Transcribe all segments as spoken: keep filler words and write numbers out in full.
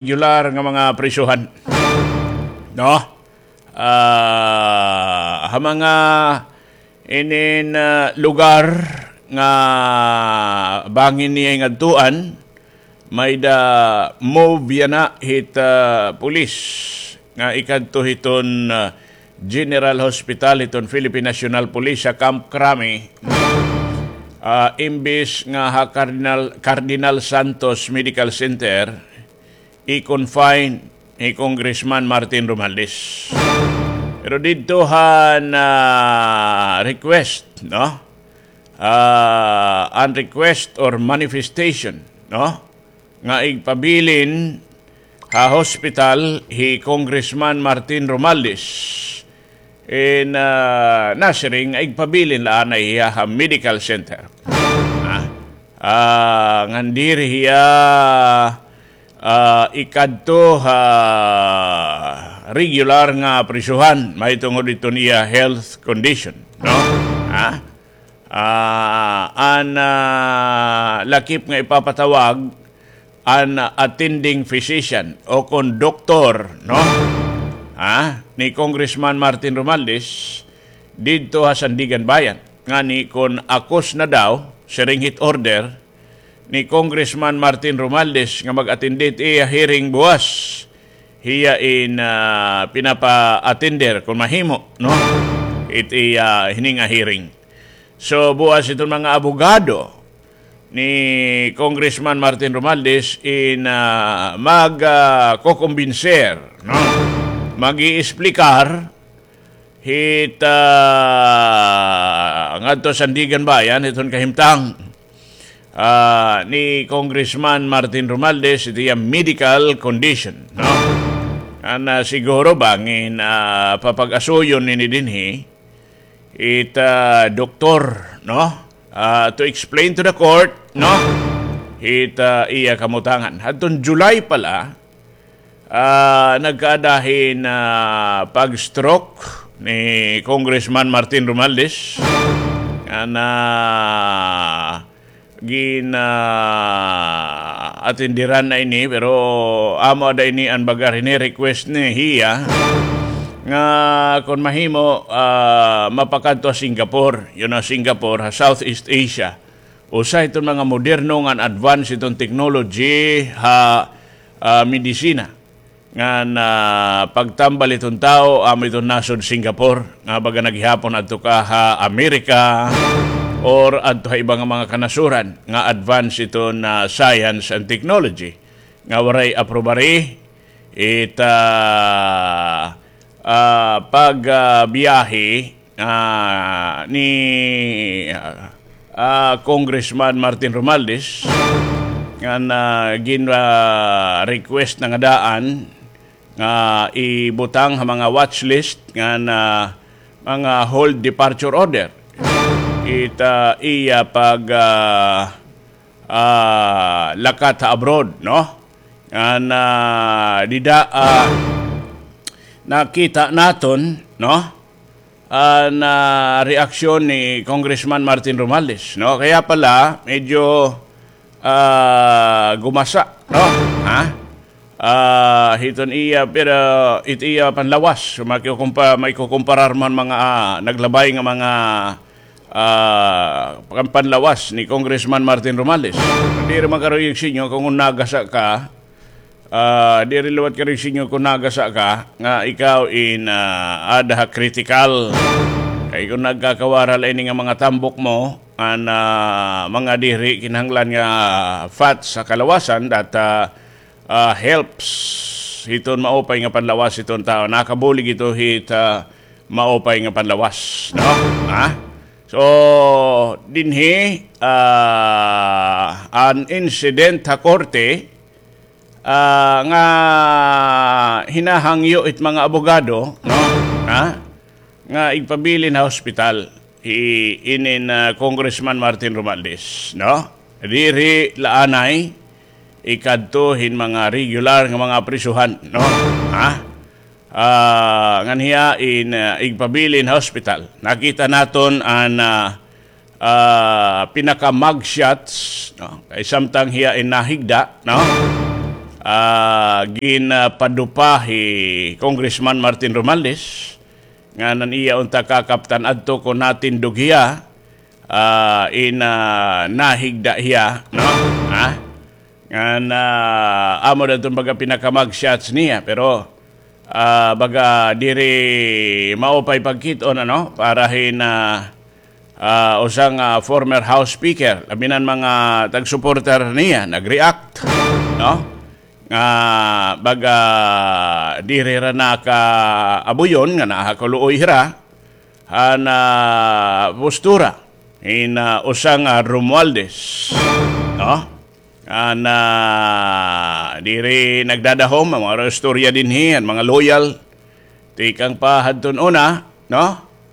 regular nga mga prisohan. No? Ah, ha mga inin, ah, lugar nga bangin niya ngadtuan, may-ada move yana hit, ah, pulis nga ikadto hiton, ah, General Hospital hiton Philippine National Police ha Camp Crame, ah, imbis nga ha Cardinal, Cardinal Santos Medical Center, i-confine ni Congressman Martin Romualdez. Pero didto han, ah, request, no? Ah, an request or manifestation, no? Nga igpabilin ha hospital hi Congressman Martin Romualdez. In, ah, nasiring nga igpabilin la anay hiya ha medical center. Ah, ah, ngan diri hiya, ah, ikadto ha regular nga prisohan, mahitungod iton iya health condition, no? Ha? Ah, an, ah, lakip nga ipapatawag, an attending physician o kon doktor, no? Ha? Ni Congressman Martin Romualdez didto ha Sandiganbayan. Ngani kon akos na daw, siring hit order ni Congressman Martin Romualdez nga mag-attend hit iya hearing buwas. Hiya in, ah, pinapa-attender kon mahimo, no? It iya hini nga hearing. So, buwas iton mga abogado ni Congressman Martin Romualdez in, ah, mag, ah, kokombinser, no? Mag-iisplikar hit, ah, ngadto Sandiganbayan, hiton kahimtang, ah, ni Congressman Martin Romualdez, it iya medical condition, no? An, ah, siguro bangin, ah, papag-asuyon nini dinhi, it, ah, doktor, no? Ah, to explain to the court, no? It, ah, iya kamutangan. Hadton July pala, ah, nagkaada hin, ah, pag-stroke ni Congressman Martin Romualdez. An, ah, gin, ah, atenderan na ini, pero amo ada ini an baga hini request ni hiya nga kon mahimo, ah, mapakadto ha Singapore, yun ha Singapore, ha Southeast Asia. Usa hiton mga moderno ngan advance hiton technology ha, ah, medisina. Ngan, ah, pagtambal hiton tawo, amo hiton nasod Singapore, nga baga na gihapon adto ka ha Amerika, or adto ha iba nga mga kanasuran, nga advance hiton, ah, science and technology, nga waray aprobari, it, ah, ah, pag, ah, biyahe ah, ni, ah, ah, Congressman Martin Romualdez, ngan, ah, gin, ah, request na nga daan nga ibutang ha mga watch list ngan, ah, mga hold departure order. It, ah, iya pag, ah, ah, lakat ha abroad, no? Ngan, ah, dida, ah, nakita naton, no? An, ah, reaksyon ni Congressman Martin Romualdez, no? Kaya pala, medyo, ah, gumasa, no? Ha? Ah, hiton iya, pero it iya panlawas, makikukumpa-, makikukumparar man mga, ah, naglabay nga mga, ah, pan-, panlawas ni Congressman Martin Romualdez. Diri man karuyag sa inyo kon nagasa ka, ah, diri liwat karuyag sa inyo kon nagasa ka, nga ikaw in, ah, ada ha critical. Kay kon nagkakawara la ini nga mga tambok mo, an, ah, mga diri kinahanglan nga fats sa kalawasan, that, ah, ah, helps hiton maupay nga panlawas hiton tawo. Nakabulig ito hit, ah, maupay nga panlawas, no? Ha? So, dinhi, ah, an incident ha korte, ah, nga hinahangyo it mga abogado, no? Ha? Nga igpabilin ha hospital hi inin, ah, Congressman Martin Romualdez, no? Diri la anay ikadto hin mga regular nga mga prisuhan, no? Ha? Ah, ngan hiya in, ah, igpabilin ha hospital. Nakita naton an, ah, ah, pinaka-mugshots, no? Kay samtang hiya in nahigda, no? ah, ginapadupa hi Congressman Martin Romualdez, ngan an iya unta kakaptan adto kon natindog hiya, ah, in, ah, nahigda hiya, no? Ha? Ngan, ah, amo daw iton baga pinaka-mugshots niya, pero, ah, baga diri maupay pagkit-on, ano, para hin, ah, ah, usa nga former House Speaker, labi na an mga tag-supporter niya, nag-react, no? Nga baga diri hira nakaabuyon nga naha kaluoy hira han, ah, postura hin, ah, usa nga Romualdez, no? An, ah, diri nagdadahom an mga istorya dinhi, an mga loyal. Tikang pa hadton una, no?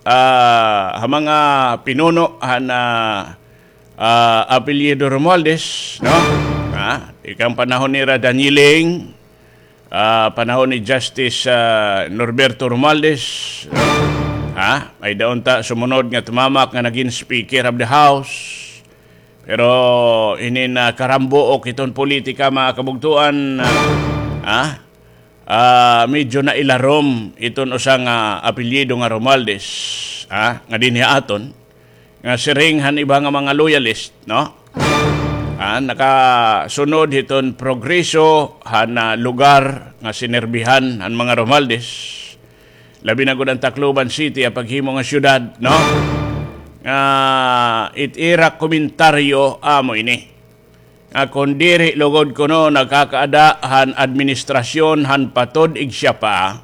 Ah, ha mga pinuno han, ah, ah, apelyido Romualdez, no? Ah, tikang panahon nira Daniling, ah, panahon ni Justice, ah, Norberto Romualdez, no? Ha? May-ada unta sumunod nga tumamak nga nagin Speaker of the House. Pero inin, ah, karambuok hiton politika, mga kabugtoan, ah, ha? Ah, medyo nailarom hiton usa nga apelyido nga Romualdez, ha, nga dinhi ha aton, nga siring han iba nga mga loyalist, no? Ah, nakasunod hiton progreso han, ah, lugar nga sinerbihan han mga Romualdez, labi na gud an Tacloban City, an paghimo nga syudad, no? Nga it ira komentaryo amo ini. Nga kon diri lugod kuno nakakaada han administrasyon han Patod Igsiapa,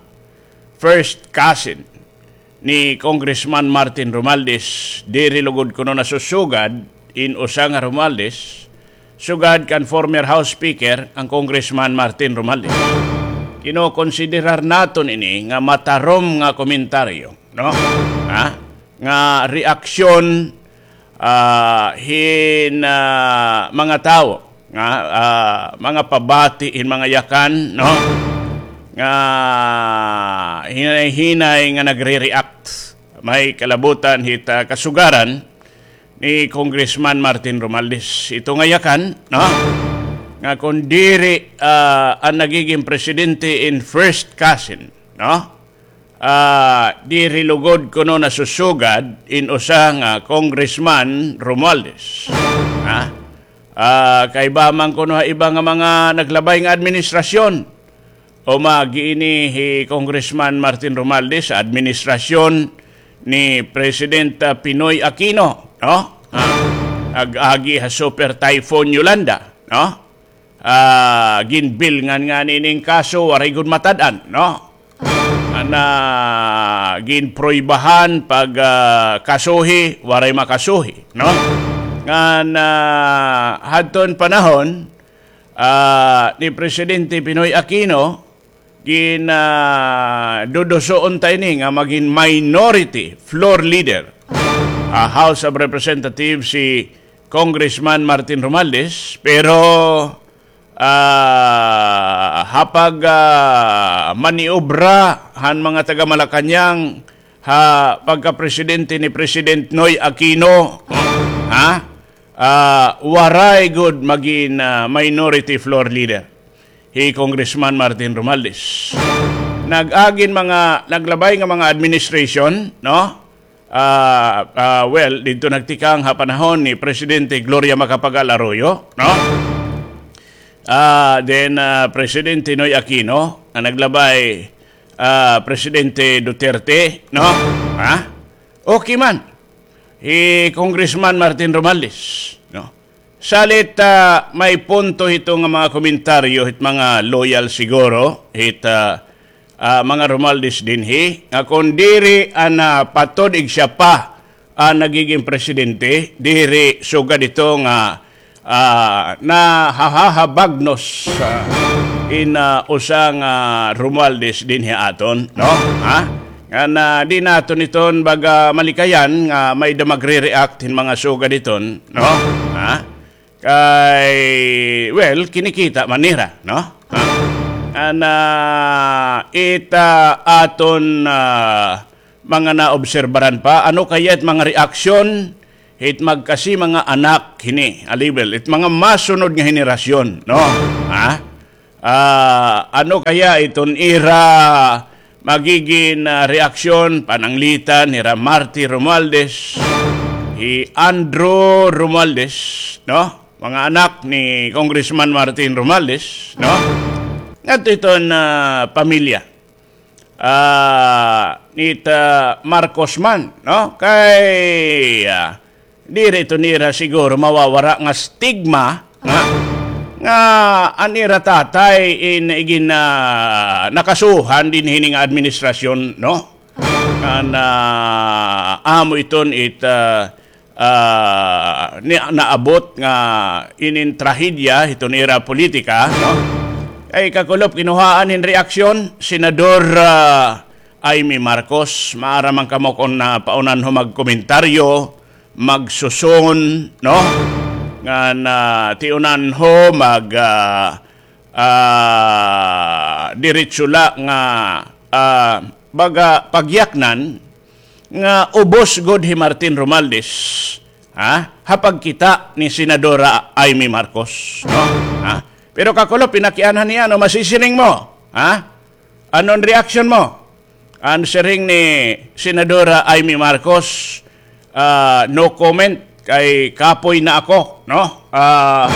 first cousin ni Congressman Martin Romualdez, diri lugod kuno nasusugad in usa nga Romualdez, sugad kan former House Speaker, an Congressman Martin Romualdez. Kinokonsiderar naton ini nga matarom nga komentaryo, no? Ha? Nga reaksyon ah, hin, ah, mga tawo nga, ah, mga pabati hin mga yakan, no? Nga hinay-hinay nga nagre-react. May kalabutan hit, ah, kasugaran ni Congressman Martin Romualdez. Ito nga yakan, no? Nga kon diri, ah, an nagiging presidente in first cousin, no? Ah, diri lugod kuno nasusugad in usa nga Congressman Romualdez. Ha? Ah, kaiba man kuno ha iba nga mga naglabay nga administrasyon. O magi ini hi Congressman Martin Romualdez sa administrasyon ni President, ah, Pinoy Aquino, no? Ha? Ag-agi ha Super Typhoon Yolanda, no? Ah, ginbilngan ngani ining kaso, waray gud matad-an, no? Ana, ginpruibahan pag, ah, kasuhi, waray makasuhi, no? Ngan, ah, hadton panahon, ah, ni Presidente Pinoy Aquino, gin, ah, duduso unta ini nga magin minority floor leader ha House of Representatives si Congressman Martin Romualdez, pero, ah, ha pag, ah, maniobra han mga taga Malacañang ha pagkapresidente ni President Noy Aquino, ha? Ah, waray gud magin, ah, minority floor leader hi Congressman Martin Romualdez. Nag-agin mga, naglabay nga mga administration, no? Ah, ah, well, didto nagtikang ha panahon ni Presidente Gloria Macapagal Arroyo, no? Ah, then, ah, Presidente Noy Aquino, nga naglabay, ah, Presidente Duterte, no? Ha? Okay man. Hi Congressman Martin Romualdez, no? Salit, ah, may punto hito nga mga komentaryo hit mga loyal siguro hit, ah, ah, mga Romualdez dinhi, nga kon diri an, ah, Patod Igsiapa an nagiging presidente, diri sugad ito nga, ah, nahahahabagnos, ah, in, ah, usa nga Romualdez dinhi aton, no? Ha? Ngan, ah, di naton iton baga malikayan nga may-ada magre-react hin mga sugad iton, no? Ha? Kay, well, kinikita man nira, no? Ha? Ngan, ah, it, ah, aton, ah, mga naobserbaran pa, ano kaya it mga reaksyon hit magkasi mga anak hini, alibel, it mga masunod nga henerasyon, no? Ha? Ah, ano kaya iton ira magigin, ah, reaksyon, pananglitan hira Martin Romualdez, hi Andrew Romualdez, no? Mga anak ni Congressman Martin Romualdez, no? Ngadto iton, ah, pamilya, ah, nita Marcos man, no? Kay, ah, diri ito nira siguro mawawara nga stigma nga, nga an ira tatay in igin, ah, nakasuhan dinhi hini nga administrasyon, no? Nga na amo iton it, ah, ah, ni-, naabot nga inin trahedya hiton ira politika, no? Kay kakulop kinuhaan hin reaksyon, Senador, ah, Imee Marcos, maaram man kamo kon, ah, paunanho magkomentaryo, magsuson, no? Ngan, ah, tiunanho mag, ah, ah, diretso la nga, ah, baga pagyaknan nga ubos gud hi Martin Romualdez, ha? Ha pagkita ni Senadora Imee Marcos, no? Ha? Pero kakulop, pinakianhan niya, ano masisiring mo? Ha? Ano an reaksyon mo? An siring ni Senadora Imee Marcos, ah, no comment kay kapoy na ako, no? Ah,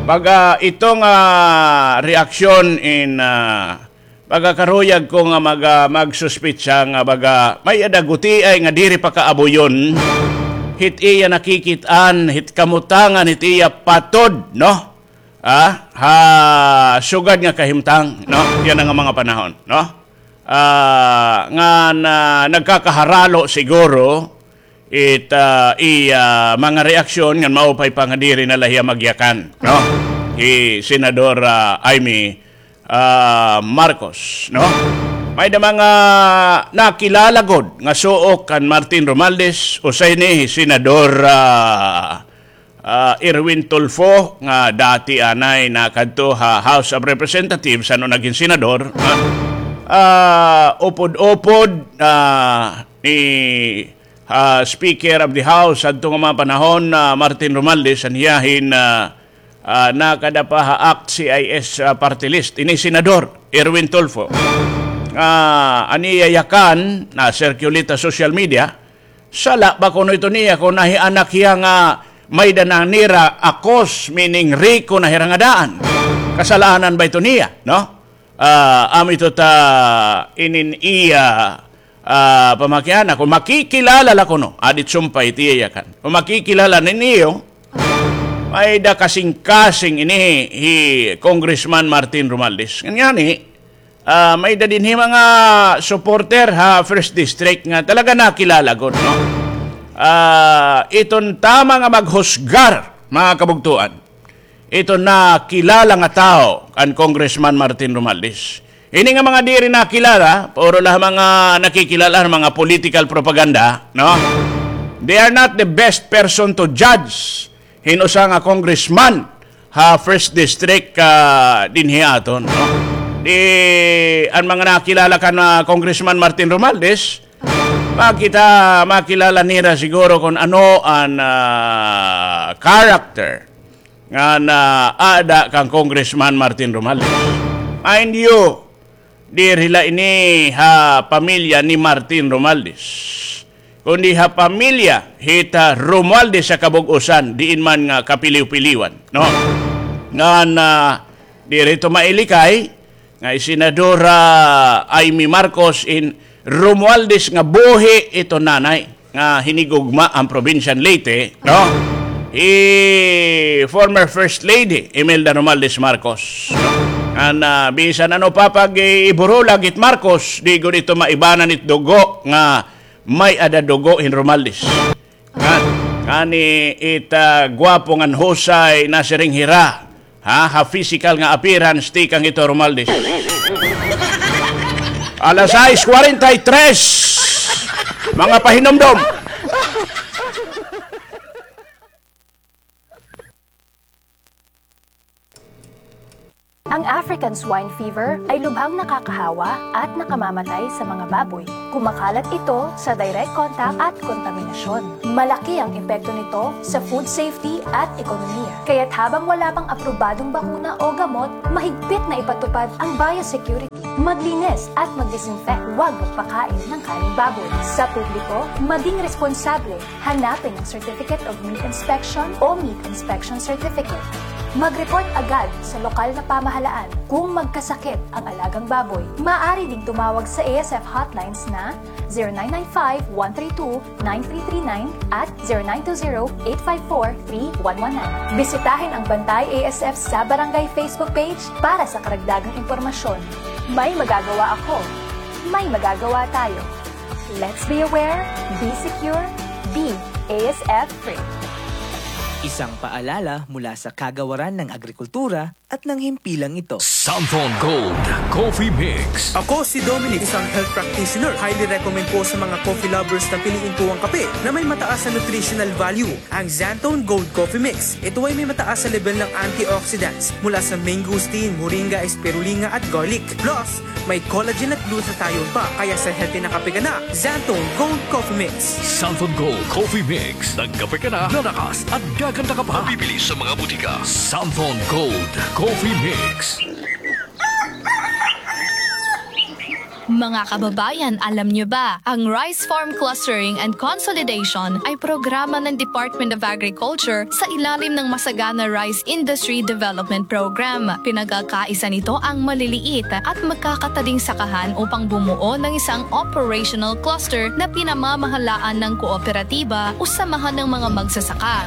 baga ito nga, ah, reaksyon in, ah, baga karuyag ko nga mag-, ah, magsuspitsa nga baga may-ada gutiay nga diri pa kaabuyon hit iya nakikit-an, hit kamutangan, hit iya patod, no? Ah, ha sugad nga kahimtang, no? Yana nga mga panahon, no? Ah, nga na, nagkakaharalo siguro it, ah, iya mga reaksyon ngan maupay pa nga diri na la hiya magyakan, no? Hi Senador, ah, Imee, ah, Marcos, no? May-ada mga nakilala gud nga suok kan Martin Romualdez, usa ini hi Senador, ah, ah, Erwin Tulfo, nga dati anay nakadto ha House of Representatives, ano, nagin senador, ha? Ah, upod-upod, ah, ni, ah, Speaker of the House, adto nga mga panahon, ah, Martin Romualdez, an hiya hin, ah, ah, nakada pa ha ACT-CIS, ah, party list. Ini senador, Erwin Tulfo. Ah, an iya yakan, na-circulate ha social media, sala ba kuno ito niya kon nahianak hiya nga may-ada na nira akos, meaning riko na hira nga daan? Kasalanan ba ito niya, no? Ah, amo ito ta inin iya, ah, pamakiana. Kon makikilala la kuno, adit sumpay it iya yakan. Kon makikilala ninyo, may-ada kasingkasing ini hi Congressman Martin Romualdez. Ngani, ah, may-ada dinhi mga supporter ha First District nga talaga nakilala gud, no? Ah, iton tama nga maghusgar, mga kabugtoan, iton nakilala nga tawo kan Congressman Martin Romualdez. Ini nga mga diri nakilala, puro la mga nakikilala, mga political propaganda, no? They are not the best person to judge hin usa nga congressman ha First District, ah, dinhi aton, no? Di, an mga nakilala kan, ah, Congressman Martin Romualdez, makita, makilala nira siguro kon ano an, ah, character nga naada kan Congressman Martin Romualdez. Mind you, diri la ini ha pamilya ni Martin Romualdez, kundi ha pamilya hit Romualdez ha kabug-osan, diin man nga kapiliw-piliwan, no? Ngan, ah, diri ito mailikay nga hi Senadora Imee Marcos in Romualdez nga buhi ito nanay nga hinigugma an probinsya han Leyte, no? Hi former First Lady Imelda Romualdez Marcos, no? Ngan, ah, bisan ano pa pag-iburulag hit Marcos, di gud ito maibanan it dugo nga may-ada dugo hin Romualdez. Ngan, ngani it, ah, gwapo ngan husay nasiring hira, ha, ha physical nga appearance, tikang hito Romualdez. Alas sais kwarenta y tres, mga pahinumdom. Ang African swine fever ay lubhang nakakahawa at nakamamatay sa mga baboy. Kumakalat ito sa direct contact at kontaminasyon. Malaki ang epekto nito sa food safety at ekonomiya. Kaya't habang wala pang aprobadong bakuna o gamot, mahigpit na ipatupad ang biosecurity. Maglinis at mag-disinfect. Huwag magpakain ng karneng baboy. Sa publiko, maging responsable. Hanapin ang Certificate of Meat Inspection o Meat Inspection Certificate. Mag-report agad sa lokal na pamahalaan kung magkasakit ang alagang baboy. Maaari ding tumawag sa A S F hotlines na zero nine nine five, one three two, nine three three nine at zero nine two zero, eight five four, three one one nine. Bisitahin ang Bantay A S F sa Barangay Facebook page para sa karagdagang impormasyon. May magagawa ako. May magagawa tayo. Let's be aware, be secure, be A S F free. Isang paalala mula sa Kagawaran ng Agrikultura at ng himpilang ito. Santhon Gold Coffee Mix. Ako si Dominic, isang health practitioner. Highly recommend ko sa mga coffee lovers na piliin ko ang kape na may mataas na nutritional value, ang Xanthone Gold Coffee Mix. Ito ay may mataas na level ng antioxidants mula sa mangosteen, moringa, spirulina at garlic. Plus, may collagen at glutathione pa, kaya sa healthy na kape ka na, Xanthone Gold Coffee Mix. Santhon Gold Coffee Mix. Nagkape ka na, lalakas at gaganda ka pa. Mabibili sa mga butika. Santhon Gold Coffee Mix. Mga kababayan, alam niyo ba, ang Rice Farm Clustering and Consolidation ay programa ng Department of Agriculture sa ilalim ng Masagana Rice Industry Development Program. Pinagkakaisa nito ang maliliit at magkakatading sakahan upang bumuo ng isang operational cluster na pinamamahalaan ng kooperatiba o samahan ng mga magsasaka.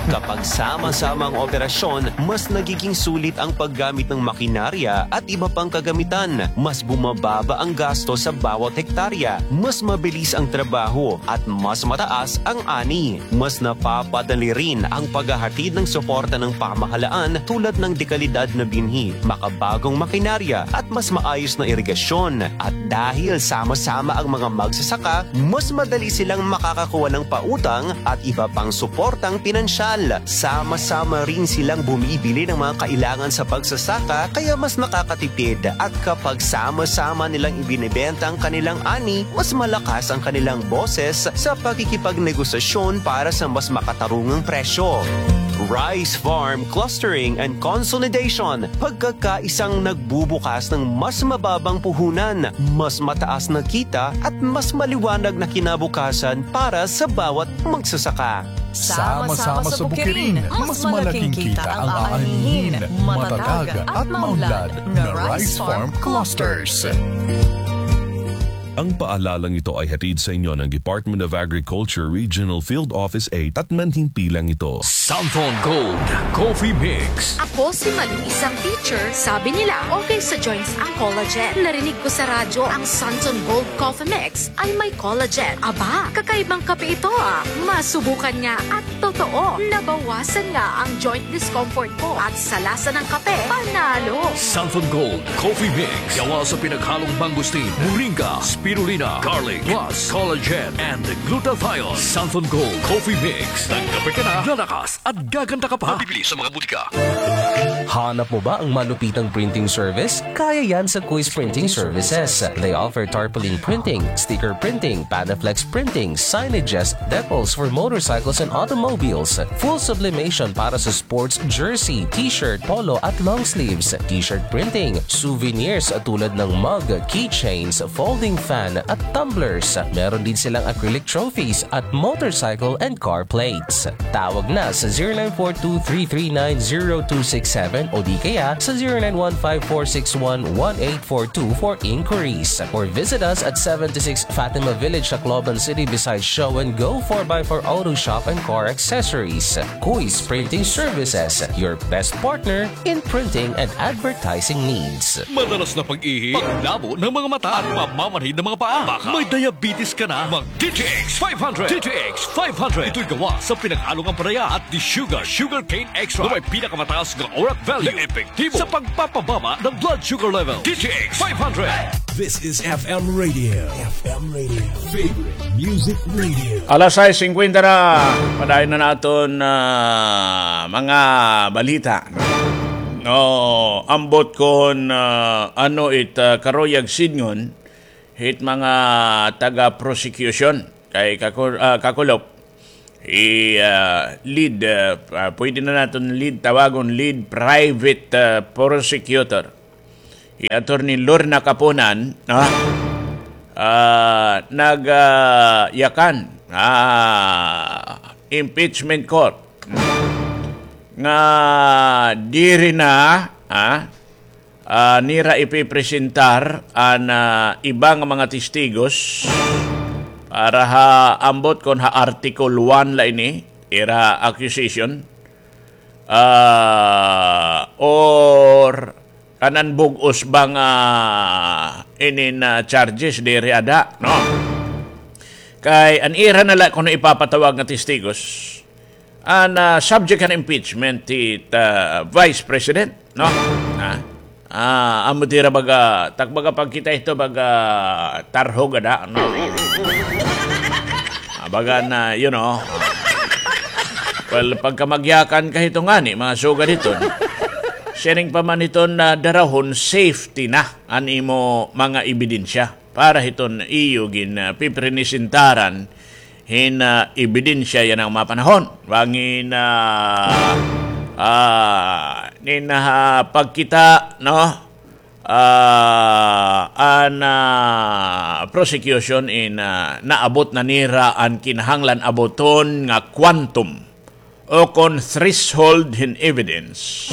Kapag sama-sama ang operasyon, mas nagiging sulit ang paggamit ng makinarya at iba pang kagamitan. Mas bumababa ang gasto sa bawat hektarya, mas mabilis ang trabaho, at mas mataas ang ani. Mas napapadali rin ang paghahatid ng suporta ng pamahalaan tulad ng dekalidad na binhi, makabagong makinarya, at mas maayos na irigasyon. At dahil sama-sama ang mga magsasaka, mas madali silang makakakuha ng pautang at iba pang suportang pinansyal. Sama-sama rin silang bumibili ng mga kailangan sa pagsasaka, kaya mas nakakatipid. At kapag sama-sama nilang ibinebenta ang kanilang ani, mas malakas ang kanilang boses sa pakikipagnegosasyon para sa mas makatarungang presyo. Rice Farm Clustering and Consolidation, pagkakaisang nagbubukas ng mas mababang puhunan, mas mataas na kita at mas maliwanag na kinabukasan para sa bawat magsasaka. Sama-sama sa bukirin, mas malaking kita ang aanihin, matatag at maunlad na Rice Farm Clusters. Ang paalalang ito ay hatid sa inyo ng Department of Agriculture Regional Field Office eight at ng himpilang ito. Santhon Gold Coffee Mix. Ako si Malu, isang teacher. Sabi nila, okay sa joints ang collagen. Narinig ko sa radyo ang Santhon Gold Coffee Mix ay may collagen. Aba, kakaibang kape ito, ah. Masubukan nga at totoo, nabawasan nga ang joint discomfort ko at sa lasa ng kape, panalo. Santhon Gold Coffee Mix. Gawa sa pinaghalong mangosteen, moringa, spirulina, garlic, plus collagen and glutathione. Santhon Gold Coffee Mix. Nagkape ka na, lalakas at gaganda ka pa. Mabibili sa mga butika. Hanap mo ba ang malupitang printing service? Kaya yan sa Quiz Printing Services. They offer tarpaulin printing, sticker printing, Panaflex printing, signages, decals for motorcycles and automobiles, full sublimation para sa sports jersey, t-shirt, polo at long sleeves, t-shirt printing, souvenirs tulad ng mug, keychains, folding fan at tumblers. Meron din silang acrylic trophies at motorcycle and car plates. Tawag na sa zero nine four two three three nine zero two six seven o di kaya sa zero nine one five four six one one eight four two for inquiries. Or visit us at seventy-six Fatima Village, Tacloban City, beside Show and Go, four by four Auto Shop and Car Accessories. Kuis Printing Services, your best partner in printing and advertising needs. Madalas na pag-ihi, paglabo ng mga mata, at pamamanhid ng mga paa. Baka may diabetes ka na, mag D T X five hundred. D T X five hundred. Ito'y gawa sa pinaghalong ampalaya at desugared sugarcane extract na may pinakamataas nga orat value na epektibo sa pagpapababa ng blood sugar level. D T X five hundred. This is F M Radio. F M Radio. Favorite Music Radio. Alas sais singkwenta na, padayon na naton, ah, mga balita. No, ambot kon, ah, ano it, ah, karuyag sidngon hit mga taga-prosecution kay kaku-, ah, kakulop, hi, ah, lead, ah, ah, pwede na naton lead tawagon, lead private, ah, prosecutor, hi Attorney Lorna Kapunan, no? Ah, nag, ah, yakan, ah, impeachment court nga diri na, ah, ah, nira ipipresentar an, ah, iba nga mga testigos para ha ambot kon ha Article one la ini, ira accusation, ah, or kanan bug-os ba nga inin, ah, charges diri ada, no? Kay an ira na la kuno ipapatawag nga testigos, an, ah, subject han impeachment hit, ah, Vice President, no? Ha? Ah, amo it ira baga, tak baga pagkita hito baga tarhog ada, no? Ah, baga na, you know. Well, pagka magyakan ka hito ngani, mga sugad hiton, siring pa man hiton na darahon, safety na an imo mga ebidensya para hiton iyo gin, ah, pipresentar hin, ah, ebidensya yana nga mga panahon. Bangin, ah, ah, inin, ah, pagkita, no? Ah, an, ah, prosecution in, ah, naabot na nira an kinahanglan aboton nga quantum o kon threshold hin evidence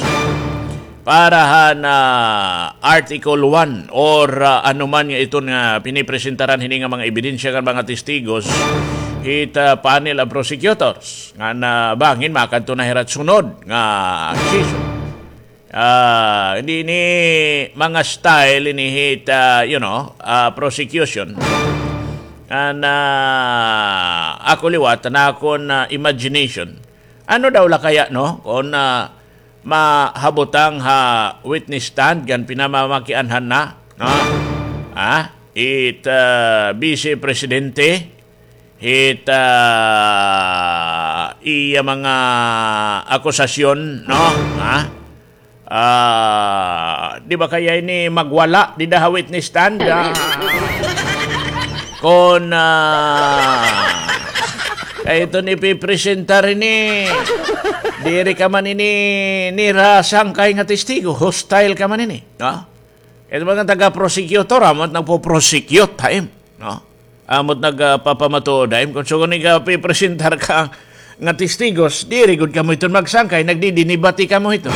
para han, ah, Article one or, ah, ano man nga iton nga pinipresentaran hini nga mga ebidensya kan mga testigos hit, ah, panel of prosecutors ngan bangin makadto na hira hit sunod nga accusation. Ah, hindi ini mga style ini hit, ah, you know, ah, prosecution. An, ah, ako liwat, an akon, ah, imagination. Ano daw la kaya, no? Kon, ah, mahabutang ha witness stand, kan pinamamakianhan na, no? Ha? It, ah, Vice Presidente, hit, ah, iya mga akusasyon, no? Ha? Ah, di ba kaya ini magwala dida ha witness stand? Ah, kon, ah, kay iton ipipresentar ini, diri ka man ini nira sangkay nga testigo, hostile ka man ini, no? Ito mga taga-prosecutor, amo it nagpo-prosecute ha im, no? Amo it nagpapamatuod ha im. Kon sugon ikapipresentar ka nga testigos, diri gud kamo iton magsangkay, nagdidinibati kamo hito.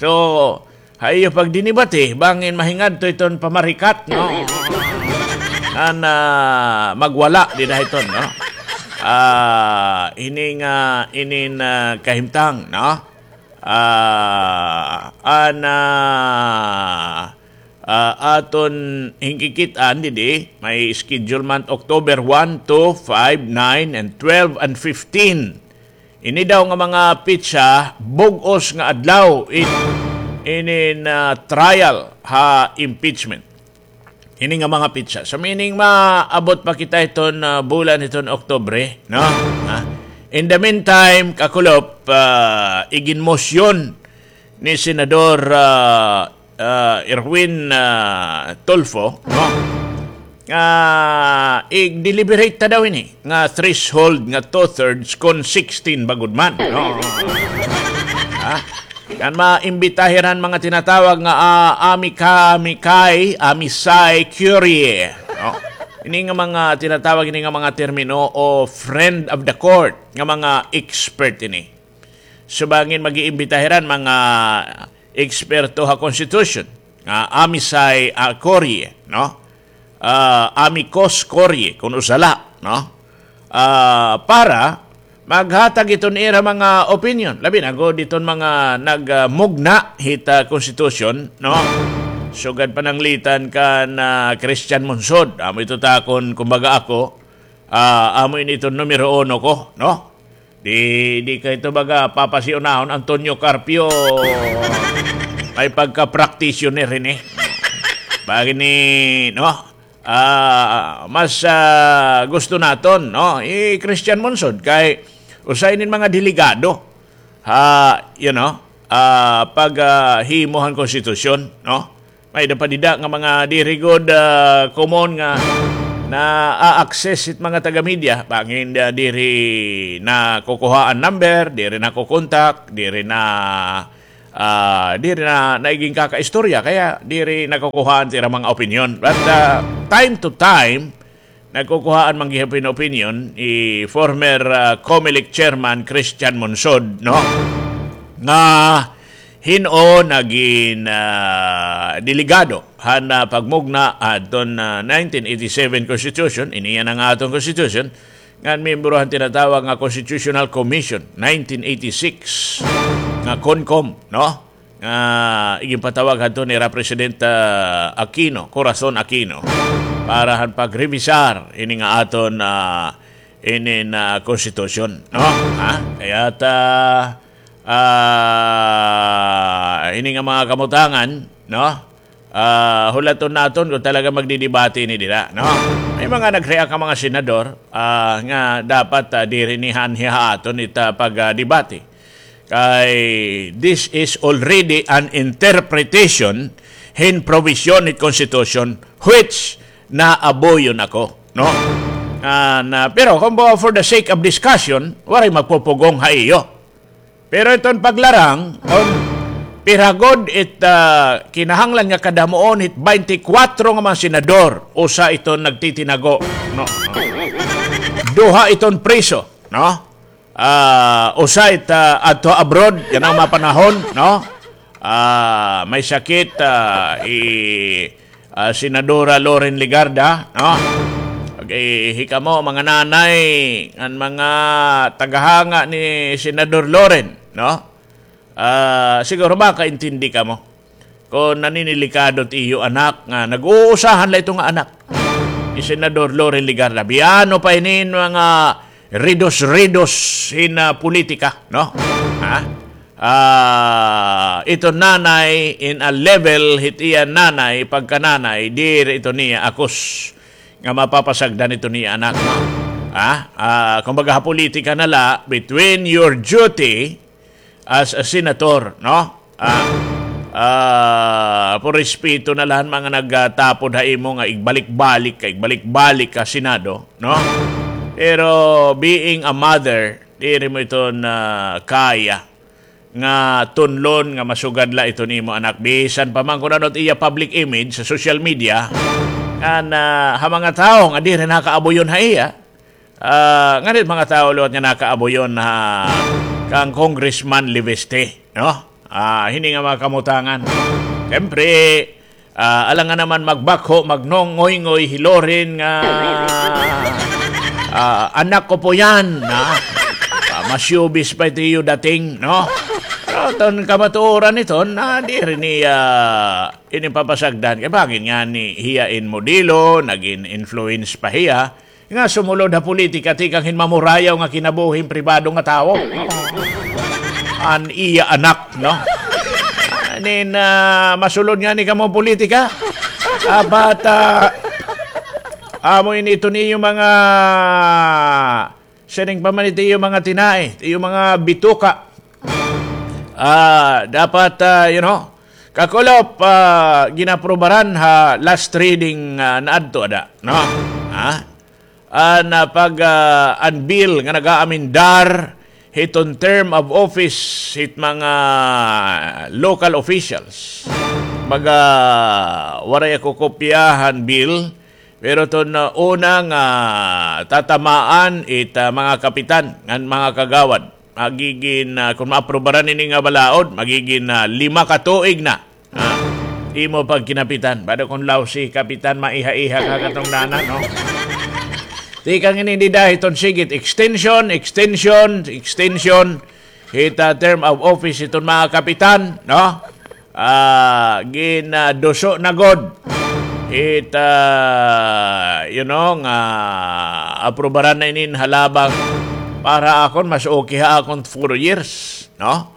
So, ha iyo pagdinibati, bangin mahingadto iton pamarikat, no? An, ah, magwala dida hiton, no? Ah, ini nga, inin, ah, kahimtang, no? Ah, an, ah, ah, aton hingkikit-an didi, may schedule man October one, two, five, nine, and twelve, and fifteen. Ini daw nga mga petsa, bug-os nga adlaw, it, inin, ah, trial ha impeachment. Ini nga mga petsa. So, meaning, maabot pa kita hiton, ah, bulan hiton Oktubre, no? Ha? In the meantime, kakulop, ah, iginmosyon ni Senador, ah, ah, Erwin, ah, Tulfo, no? Nga, i-deliberate ta daw ini, nga threshold, nga two-thirds, kon sixteen ba gud man, no? Ha? Kan maimbita hira han mga tinatawag nga, ah, amica-, amicai, amicus curiae, no? Ini nga mga tinatawag, ini nga mga termino o friend of the court nga mga expert ini. So, bangin mag-iimbita hira han mga eksperto ha constitution, nga amicus curiae, no? Ah, amicus curiae, kon usa la, no? Ah, para maghatag iton ira mga opinion. Labi na gud iton mga nagmugna hit, ah, constitution, no? Sugad pananglitan kan, ah, Christian Monsod. Amo ito ta kon, kumbaga ako, ah, amo ini iton numero uno ko, no? Di, di kay ito baga papasiunahon Antonio Carpio. May pagka-practitioner ini. Bangin ni, no? Ah, mas, ah, gusto naton, no? I Christian Monsod kay usa ini hin mga delegado ha, you know, ah, pag, ah, himo han konstitusyon, no? May da pa dida nga mga diri gud, ah, common nga na-access it mga taga-media. Bangin, ah, diri nakukuhaan number, diri nakukontak, diri na, ah, diri na naigin kakaistorya, kaya diri nakukuhaan it ira mga opinyon. But, ah, time to time, nagkukuhaan man gihapon hin opinyon hi former, ah, Comelec chairman Christian Monsod, no? Nga hin-o nagin, ah, delegado han, ah, pagmugna hadton, ah, nineteen eighty-seven Constitution, ini yana nga aton Constitution, ngan miyembro han tinatawag nga Constitutional Commission, nineteen eighty-six, nga CONCOM, no? Nga iginpatawag hadto nira President, ah, Aquino, Corazon Aquino, para han pagrevisar ini nga aton, ah, ini nga konstitusyon, no? Ha? Kaya ta, ah, ini nga mga kamutangan, no? Ah, hulaton naton kung talaga magdidebate ini dira, no? May mga nag-react nga mga senador, ah, nga dapat, ah, diri ni han hiha aton it, ah, pagdebate. Kay this is already an interpretation hin provision hit Constitution which naabuyon ako, no? Ah, na, pero kung ba for the sake of discussion, waray magpupugong ha iyo. Pero iton paglarang, kon pira gud it, ah, kinahanglan nga kadamuon hit baynte kwatro nga mga senador, usa iton nagtitinago, no? Duha iton priso, no? Ah, usa it, ah, adto abroad, yana nga mga panahon, no? Ah, may sakit, ah, hi, ah, Senadora Loren Legarda, no? Okay, hikamo, mga nanay, ngan mga tagahanga ni Senador Loren, no? Ah, siguro makaintindi kamo. Kon naninilikado it iyo anak nga nag-uusahan la ito nga anak ni Senador Loren Legarda. Biyano pa ini mga ridos-ridos hin, ah, politika, no? Ha? Ah, ito nanay in a level hit iya nanay, pagkananay, diri ito niya akos nga mapapasagdan ito niya anak, no? Ha? Ah, kumbaga ha politika na la, between your duty as a senator, no? Ah, ah, por respeto na la han mga nagtapod ha imo nga igbalik-balik ka, igbalik-balik ka Senado, no? Pero being a mother, diri mo ito na kaya nga tunlon nga masugad la ito nimo anak. Bisan pa man kun ano it iya public image sa social media, ngan, ah, ha mga tawo nga diri nakaabuyon ha iya, ah, ngan it mga tawo liwat nga nakaabuyon ha kan Congressman Leviste, no? Ah, hini nga mga kamutangan. Siyempre, ah, alangan naman magbakho, magnongoyngoy hi Loren nga, ah, anak ko po yan, ha? Ah, mas showbiz pa ito iyo dating, no? Pero iton kamatuoran iton, ah, diri niya ini papasagdan. Kay bangin ngani hiya in modelo, nagin influence pa hiya. Nga sumulod ha politika, tikang hin mamurayaw nga kinabuhi hin pribado nga tawo. An iya anak, no? Nin, ah, masulod ngani kamo politika. Dapat, ah, amo ini ito niyo mga, siring pa man ito iyo mga tinai, iyo mga bituka. Ah, dapat, ah, you know, kakulop, ah, ginaprobaran ha last reading, ah, naadto ada, no? Ha? An, ah, pag, ah, an bill nga nag-aamendar hiton term of office hit mga local officials. Baga, waray ako kopya han bill, pero iton, ah, una nga tatamaan it, ah, mga kapitan ngan mga kagawad. Magigin, ah, kon maaprobaran ini nga balaod, magigin, ah, lima ka tuig na. Ah, imo pagkinapitan. Bado kon lousy kapitan, maiha-iha ka katungdanan, no? Tikang ini dida hiton sigit, extension, extension, extension. Hit, ah, term of office hiton mga kapitan, no? Ah, ginaduso na gud. Hit, ah, you know, nga aprobaran na inin halabang para akon, mas okay ha akon four years, no?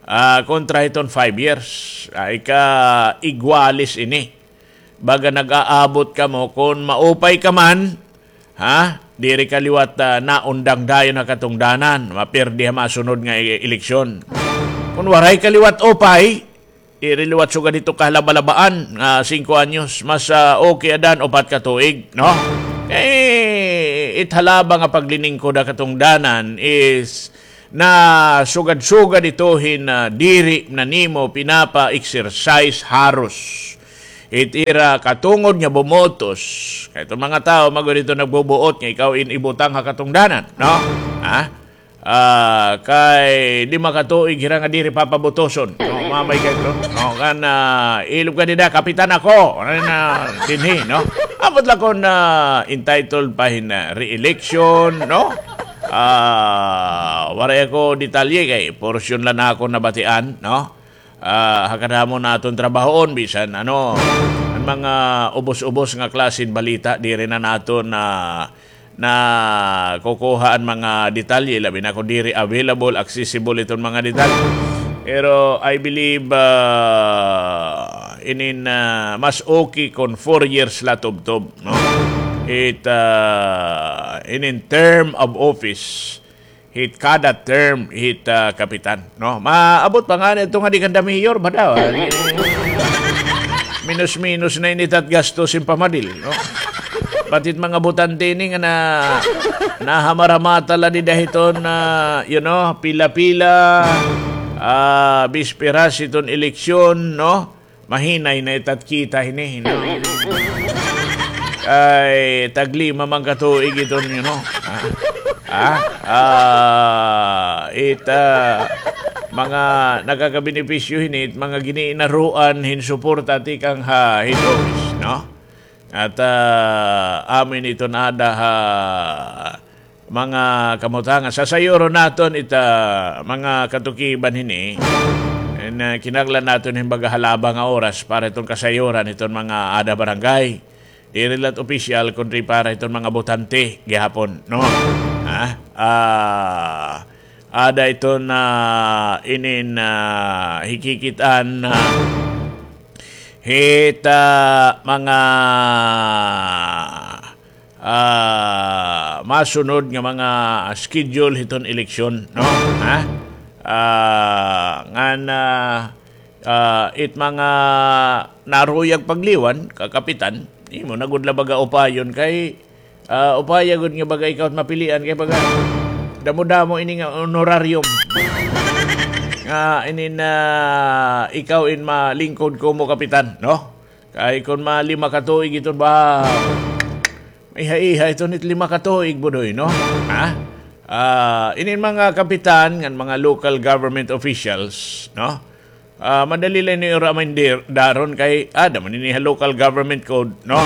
Ah, kontra hiton five years. Ay ka igwalis ini. Baga nag-aabot kamo, kon maupay ka man, ha? Diri ka liwat, ah, naundang dayon ha katungdanan, mapirdi ha masunod nga e-, eleksyon. Kon waray ka liwat upay, Diri liwat sugad hito kahalabalabaan nga singko anyos, mas, ah, okay adan upat ka tuig, no? Eh, it halaba nga pagliningkod ha katungdanan is nasugad-sugad ito hin, ah, diri na nimo pinapa-exercise haros it ira katungod nga bumotos. Kay iton mga tawo, magod ito nagbubuot nga ikaw in ibutang ha katungdanan, no? Ha? Ah, kay lima ka tuig hira nga diri papabutoson. No, mamay kay ito. No, kan, ah, ilob ka dida, kapitan ako. Ano na, dinhi, no? Ambot la kon, ah, entitled pa hin, ah, re-election, no? Ah, waray ako detalye kay porsyon la na ako nabatian, no? Ah, ha kadamo naton trabahoon, bisan, ano, an mga ubos-ubos nga klase hin balita, diri na naton na, nakukuha an mga detalye, labi na kon diri available, accessible iton mga detalye. Pero I believe, ah, inin, ah, mas okay kon four years la tubtob, no? It, ah, inin term of office, hit kada term, hit, ah, kapitan, no? Maabot pa ngani ito nga di kanda mayor, ba daw? Minus-minus na ini it gastos hin pamadil, no? Pati it mga botante ini nga na, nahamarhamata la dida hiton, ah, you know, pila-pila, ah, bisperas hiton eleksyon, no? Mahinay na it kita hini, no? Ay, taglima man ka tuig iton, you know. Ha? Ha? Ah, it, ah, mga nakakabenepisyo hini, it mga giniinaruan hin suporta tikang ha head office, no? At, ah, amin iton ada ha mga kamutangan. Sasayuron naton ita mga katukiban hini. And, ah, kinahanglan naton hin baga halaba nga oras para iton kasayuran iton mga ada barangay. Diri la it opisyal, kundi para iton mga botante gihapon, no? Ha? Ah, ada iton, ah, inin, ah, hikikit-an, ah, hit, ah, mga ah, masunod nga mga schedule hiton eleksyon, no? Ha? Ah, ngan, ah, ah, it mga naruyag pagliwan, kakapitan, imo na gud la baga upayon kay, ah, upaya gud nga baga ikaw it mapilian kay baga damo-damo ini nga honorarium. Nga inin, ah, ikaw in malingkod kumo kapitan, no? Kay kon malima ka tuig iton ba, maiha-iha iton it lima ka tuig, Budoy, no? Ha? Ah, inin mga kapitan ngan mga local government officials, no? Ah, madali la ini ira amendaron kay ada man ini ha local government code, no?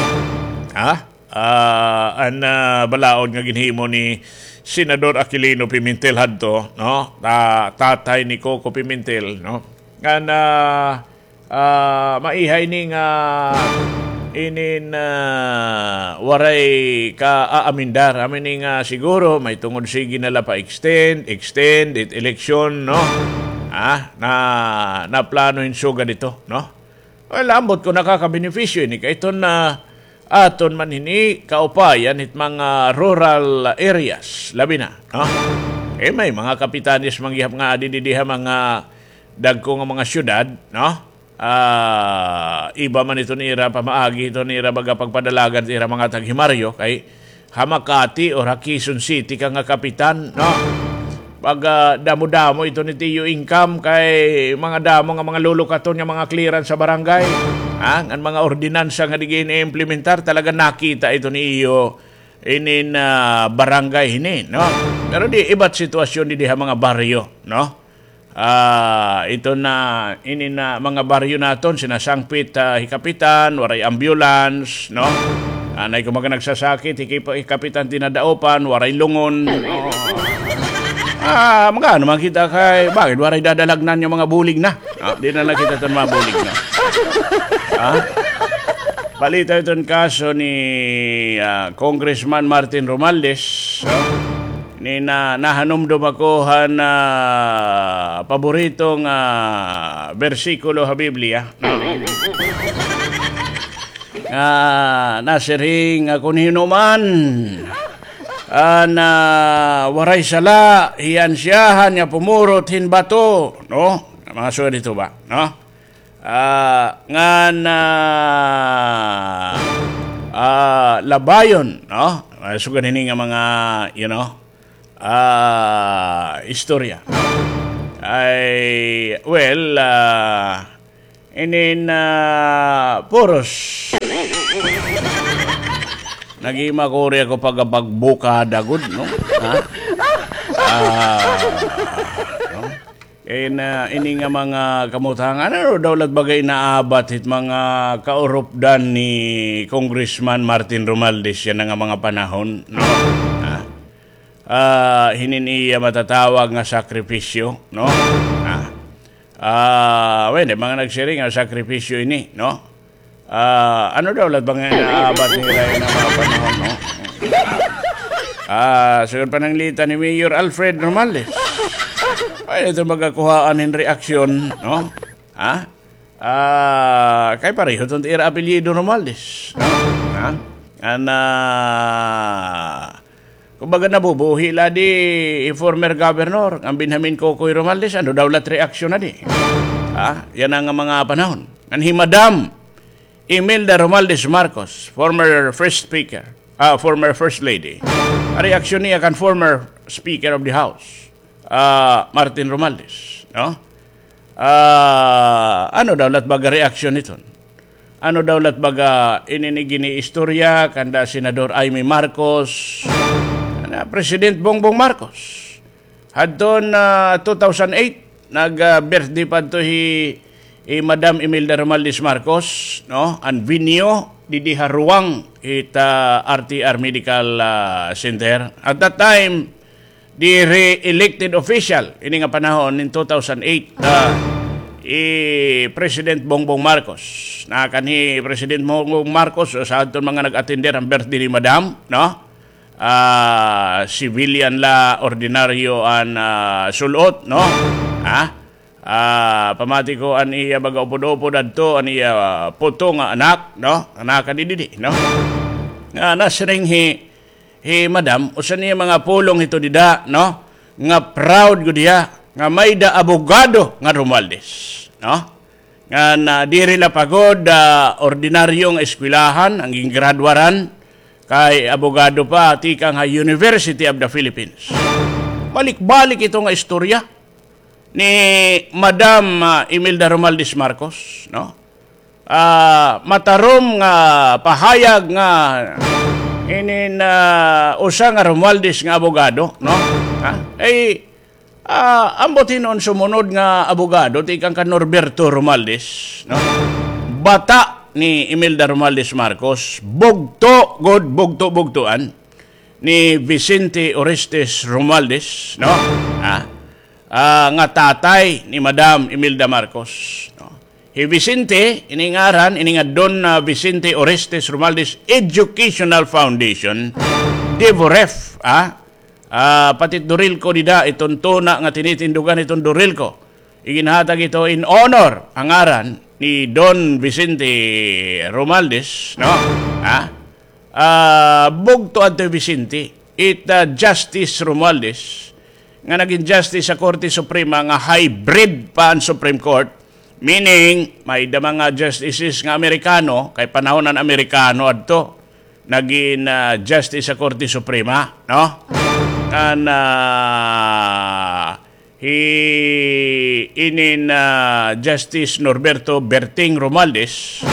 Ha? Ah, an, ah, balaod nga ginhimo ni Senador Aquilino Pimentel hadto, no? Ta-, tatay ni Coco Pimentel, no? Ngan, ah, ah, maiha ini nga inin, ah, waray ka-aamendar. Amo ini nga siguro mahitungod sige na la pa-extend, extend, it eleksyon, no? Ah, na, naplano hin sugad ito, no? Well, ambot kon nakakabenepisyo ini kay iton, ah, aton man hini kaupayan hit mga rural areas, labi na, no? Eh, may mga kapitanes man gihap nga adi didi ha mga dagko nga mga syudad, no? Ah, iba man iton ira pamaagi, iton ira baga pagpadalagan it ira mga taghimaryo kay ha Makati or ha Quezon City ka nga kapitan, no? Pag, ah, damo-damo iton it iyo income kay mga damo nga mga lulukaton nga mga clearance sa barangay, ha? Ngan mga ordinansa nga di gin-implementar, talaga nakita iton iyo inin, ah, barangay hini, no? Pero di iba it sitwasyon didi ha mga baryo, no? Ah, ito na, ini na mga baryo naton, sinasangpit, ah, hi Kapitan, waray ambulance, no? Anay ko mga nagsasakit, hi Kip-, hi Kapitan dinadaupan, waray lungon. Ah, magano man kita kay, bakit waray dadalagnan nga mga bulig na? Ah, di na nakita iton mga bulig na. Ah? Balita iton kaso ni, ah, Congressman Martin Romualdez, no? Ni na, nahanumdom ako han paborito nga bersikulo ha Biblia, no? Nga nasiring nga kon hin-o man an, ah, waray sala, hiya an siyahan nga pumurot hin bato, no? Mga sugad hito ba, no? Ah, ngan, ah, ah, labayon, no? Ah, sugad hini nga mga, you know, ah, istorya. Ay, well, ah, inin, ah, puros. Naghimakuri ako pagkapagbukada gud, no? Ha? Ah, no? Kay na, ini nga mga kamutangan, ano daw lat bagay naabat hit mga kaurupdan ni Congressman Martin Romualdez yana nga mga panahon, no? Ha? Ah, hinin iya matatawag nga sakripisyo, no? Ha? Ah, well, may mga nagsiring nga sakripisyo ini, no? Ah, ano daw lat ba nga naabat nira yana nga mga panahon, no? Ah, sugad pananglitan ni Mayor Alfred Romualdez. Ay, ito magakuhaan hin reaksyon, no? Ha? Ah, kay pareho iton ira apelyido Romualdez, no? Ha? Ana, kumbaga nabubuhi la di hi former governor, ngan Benjamin Kokoy Romualdez, ano daw lat reaksyon na di? Ha? Yana nga mga panahon. Ngan hi Madam Imelda Romualdez Marcos, former first speaker, ah, former first lady. An reaksyon niya kan former speaker of the house, ah, Martin Romualdez, no? Ah, ano daw lat baga reaksyon hiton? Ano daw lat baga ini nga giniistorya kanda Senador Imee Marcos, ana, President Bongbong Marcos? Hadton, ah, two thousand eight, nag, ah, birthday pa adto hi, hi Madam Imelda Romualdez Marcos, no? An venue, didi ha Ruang, it, ah, R T R Medical, ah, Center. At that time, diri elected official, ini nga panahon in two thousand eight, ah, hi President Bongbong Marcos. Nakanhi President Bongbong Marcos, usa hadton mga nag-attender han birthday ni Madam, no? Ah, civilian la, ordinaryo an, ah, sul-ot, no? Ha? Ah, pamati ko an iya baga upod-upod adto, an iya, ah, puto nga anak, no? Anak ka didi, no? Nga nasiring hi, hi Madam, usa niya mga pulong hito dida, no? Nga proud gud hiya, nga may-ada abogado nga Romualdez, no? Ngan, ah, diri la pa gud, ah, ordinaryo nga eskwelahan an gingraduaran, kay abogado pa tikang ha University of the Philippines. Balik-balik ito nga istorya ni Madam, ah, Imelda Romualdez Marcos, no? Ah, matarom nga pahayag nga inin, ah, usa nga Romualdez nga abogado, no? Ha? Ay, Ah, ambot hinuon sumunod nga abogado, tikang kan Norberto Romualdez, no? Bata ni Imelda Romualdez Marcos, bugto, gud, bugto-bugtoan ni Vicente Orestes Romualdez, no? Ah, ah, nga tatay ni Madam Imelda Marcos, no? Hi Vicente, ini ngaran, ini nga Don, ah, Vicente Orestes Romualdez Educational Foundation, DEVOREF, ah, Ah, pati it Dorilco dida, iton tuna nga tinitindugan hiton Dorilco. Iginhatag ito in honor an ngaran ni Don Vicente Romualdez, no? Ha? Ah, bugto adto hi Vicente, it, ah, Justice Romualdez, nga nagin justice sa Korte Suprema nga hybrid pa an Supreme Court, meaning, may-ada mga justices nga Amerikano, kay panahon an Amerikano adto, nagin, ah, justice sa Korte Suprema, no? An, ah, hi, inin, ah, Justice Norberto Berting Romualdez,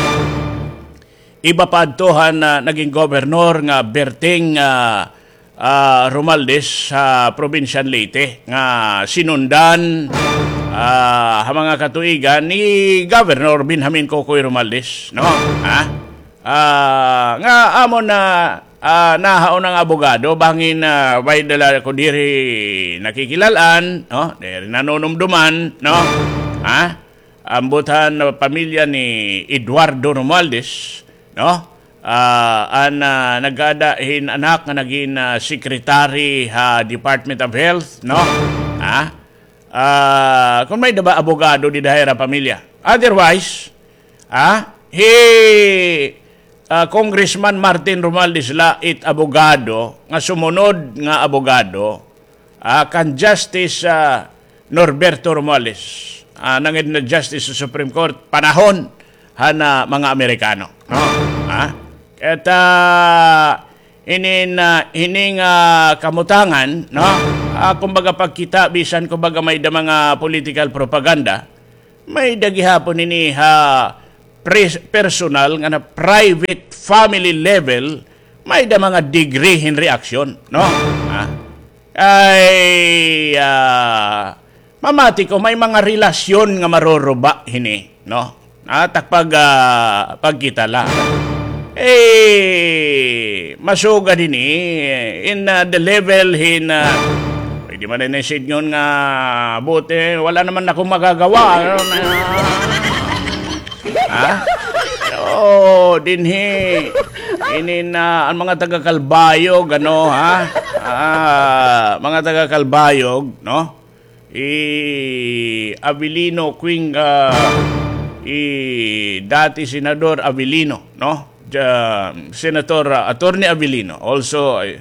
iba pa adto han, ah, nagin gobernor nga Berting, ah, ah, Romualdez sa probinsya han Leyte nga sinundan, ah, ha mga katuigan ni Governor Benjamin Kokoy Romualdez, no? Ha? Ah, nga amo na, ah, nahauna nga abogado, bangin, ah, may-ada la ako diri nakikilal-an, no? Diri nanunumduman, no? Ha? Ambot han pamilya ni Eduardo Romualdez, no? Ah, an, ah, nag-aada hin anak nga nagin, ah, secretary ha Department of Health, no? Ha? Ah, kon may-ada ba abogado dida ha ira pamilya. Otherwise, ah, hi, ah, Congressman Martin Romualdez la it abogado nga sumunod nga abogado, ah, kan Justice, ah, Norberto Romualdez. ah, nangin na justice sa Supreme Court, panahon han, ah, mga Amerikano, no? Ha? Kay ta, inin, ah, hining, ah, kamutangan, no? Ah, kumbaga pagkita, bisan kumbaga may da mga political propaganda, may da gihapon ini ha pres-, personal nga na private family level, may da mga degree hin reaksyon, no? Ha? Ay, ah, mamati ko, may mga relasyon nga maruruba hini, no? Ah, takpag, ah, pagkita la. Eh, masugad hini, in, ah, the level hin, ah, pwede man na sidngon nga, buti, wala naman akong magagawa, ano, na, ha? Oo, dinhi, inin, ah, an mga taga Calbayog, ano, ha? Ah, mga taga Calbayog, no? Hi Avelino Quing, ah, hi dati Senador Avelino, no? Ja-, Senator, ah, Attorney Avelino, also, eh,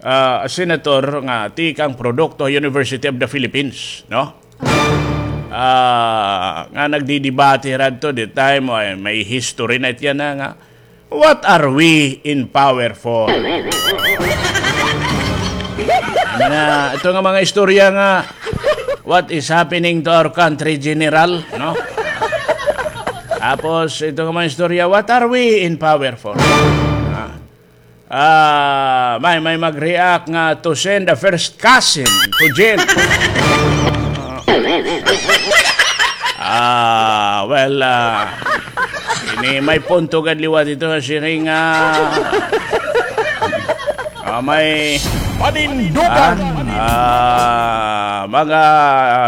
ah, a senator nga tikang produkto University of the Philippines, no? Ah, nga nagdidebate radto, the time, ay, may history na it yana nga, "What are we in power for?" Ano na, ito nga mga istorya nga, "What is happening to our country, General?" No? Tapos, ito nga mga istorya, "What are we in power for?" Ah, ah, may, may mag-react nga to send a first cousin to jail. Ah, well, ah, ini may punto gad liwat ito, siring, ah, ah, may panindugan. Ah, ah, mga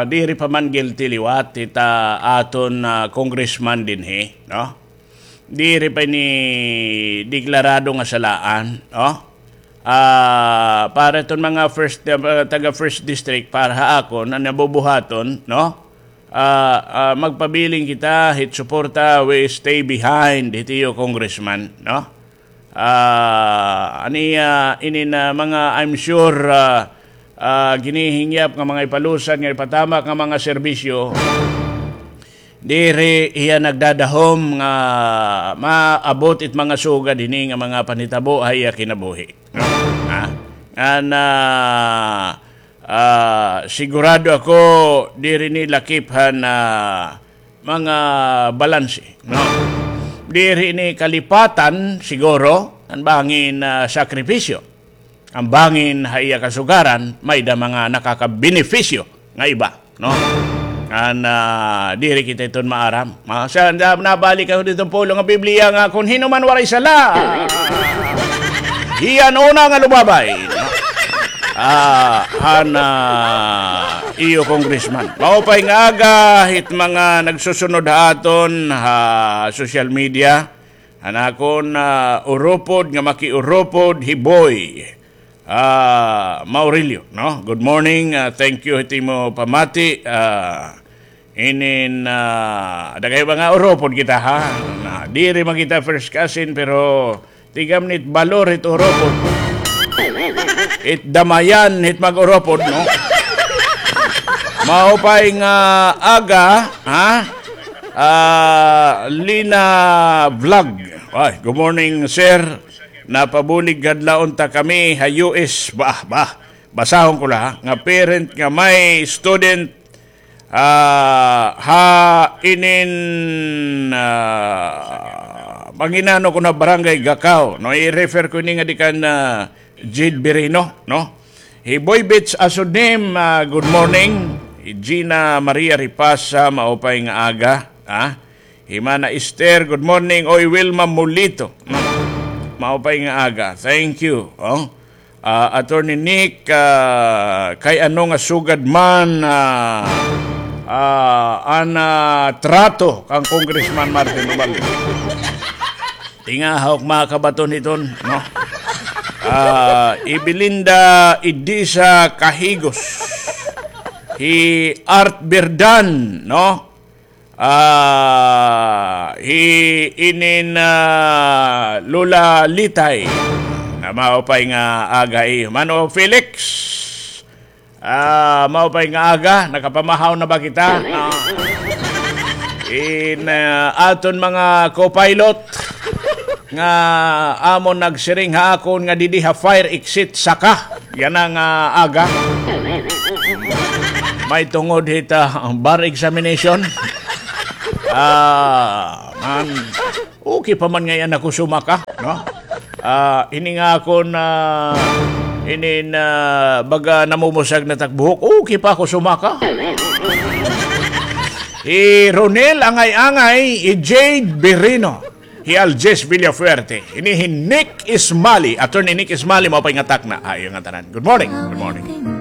diri pa man guilty liwat, ita aton, ah, congressman dinhi, no? Diri pa ini deklarado nga salaan, no? Ah, para iton mga first, ah, taga first district, para ha akon, an nabubuhaton, no? Ah, ah, magpabilin kita hit suporta, we stay behind hit iyo congressman, no? Ah, an iya, inin, ah, mga, I'm sure, ah, ah, ginihingyap nga mga ipalusad nga ipatamak nga mga serbisyo, diri hiya nagdadahom nga maabot it mga sugad hini nga mga panhitabo ha iya kinabuhi. Ha? Ngan, ah, ah, sigurado ako, diri ini lakip han, ah, mga balanse, no? Diri ini kalipatan, siguro, an bangin, ah, sakripisyo. An bangin ha iya kasugaran, may da mga nakakabenepisyo nga iba, no? Ngan, ah, diri kita iton maaram. Ma-, sa, na-, nabalik ako didto pulong nga Biblia nga, "Kon hin-o man waray sala, hiya an una nga lumabay." No? Ah, han, ah, iyo congressman. Maupay nga aga hit mga nagsusunod ha aton ha social media. An akon, ah, uropod nga makiuropod hi Boy, ah, Maurilio, no? Good morning, ah, thank you hit imo pamati, ah, inin, ah, dagay mga uropod kita, ha? Na, diri man kita first cousin, pero tigam nit balor hit uropod. It damayan hit mag-uropod, no? Maupay nga aga, ha? Ah, Lina Vlog. Ay, good morning, sir. Napabulig kadlaon ta kami ha U S. Bah, bah. Basahon ko la, ha? Nga parent nga may student, ah, ha inin, ah, manginano ko na Barangay Gacao. No, i-refer ko ini nga di kan, ah, Jade Birino, no? Hi Boy Beach Asudim, ah, good morning. Hi Gina Maria Ripasa, maupay nga aga, ha? Hi Mana Esther, good morning. Oy, Wilma Mulito, mm, maupay nga aga. Thank you, oh. Ah, Attorney Nick, ah, kay ano nga sugad man, ah, ah, an, ah, trato kan Congressman Martin Romualdez? Tinga ha ak makabaton hiton, no? Ah, hi Belinda Idisa Kahigos. Hi Art Birdan, no? Ah, hi inin, ah, Lola Litay. Na maupay nga aga, eh. Mano Felix. Ah, maupay nga aga, nakapamahaw na ba kita? Ah. In ah, aton mga co-pilot nga amon nagsiring ha akon nga didi ha fire exit saka yana nga aga. May tungod hit ah, bar examination. Ah, man. Okay pa man ngay-an ako sumaka, no? Ah, ini nga akon inin baga namumusag na tak buhok, okay pa ako sumaka. Hi Ronel Angay-Angay, hi Jade Birino, hi Aljes Villafuerte, ini hi Nick Ismali, Attorney Nick Ismali, mao pa nga takna. Ay, nga tanan. Good morning. Good morning.